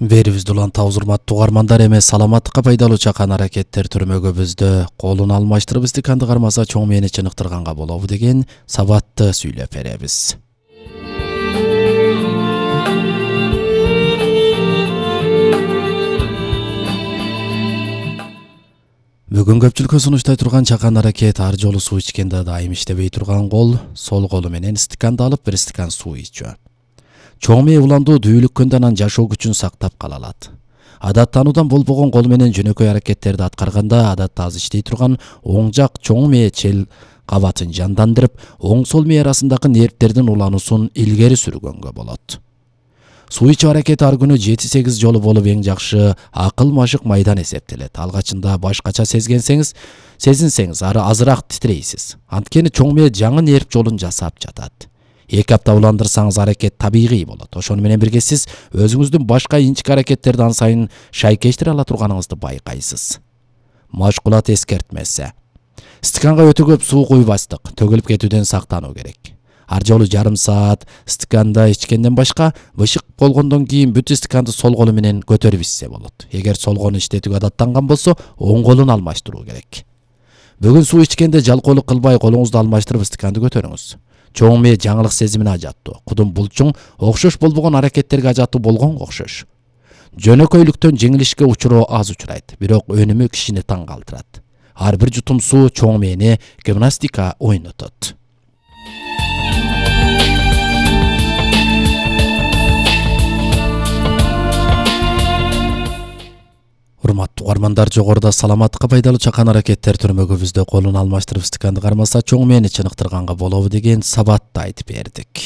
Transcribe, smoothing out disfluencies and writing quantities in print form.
Берибизди улантабыз урматтуу угармандар, эми саламаттыкка пайдалуу чакан аракеттер түрмөгүбүздө колун алмаштырып стаканды кармаса чоң мээни чыныктырганга болобу деген сабатты сүйлөп беребиз. Бүгүн көпчүлүккө сунуштай турган чакан аракет ар жолу суу ичкенде дайым иштебей турган кол сол колу менен стаканды алып бир стакан суу ичүү. Чоң мээ уландуу дүүлүккөндө анан жашоо күчүн сактап кала алат. Адаттануудан болбогон кол менен жөнөкөй аракеттерди аткарганда адатта аз иштей турган оң жак чоң мээ чел кабатын жандандырып, оң сол мээ арасындагы нервтердин улануусун илгери сүргөнгө болот. Суу ичүү аракети ар күнү 7-8 жолу болуп эң жакшы акыл-машык майдан эсептелет. Алгачында башкача сезинсеңиз азыраак титрейсиз. Анткени чоң мээ жаңы нерв жолун жасап жатат. 2 апта уландырсаңыз аракет табигый болот. Ошону менен бирге сиз өзүңүздүн башка инчик аракеттерди ан сайын шайкештире ала турганыңызды байкайсыз. Машкулат эскертмеси. Стаканга өтө көп суу куйбастык, төгүлүп кетүүдөн сактануу керек. Ар жолу жарым саат стаканда ичкенден башка бышык болгондон кийин бүт стаканды сол колу менен көтөрүп ичсе болот. Эгер сол колун иштетүүгө адаттанган болсо, оң колун алмаштыруу керек. Бүгүн суу ичкенде жалкоолук кылбай колуңузду алмаштырып стаканды көтөрүңүз. Чоң мээ жаңылык сезимине ажаттуу. Кудум булчуң окшош болбогон аракеттерге ажаттуу болгонго окшош. Жөнөкөйлүктөн жеңилишке учуроо аз учурайт, бирок өнүмү кишини таң калтырат. Ар бир жутум суу чоң мээни гимнастика ойнотот. Урматтуу угармандар, жогоруда саламаттыкка пайдалуу чакан аракеттер түрмөгүбүздө колун алмаштырып стаканды кармаса чоң мээни чыныктырганга болобу деген сабатты айтып бердик.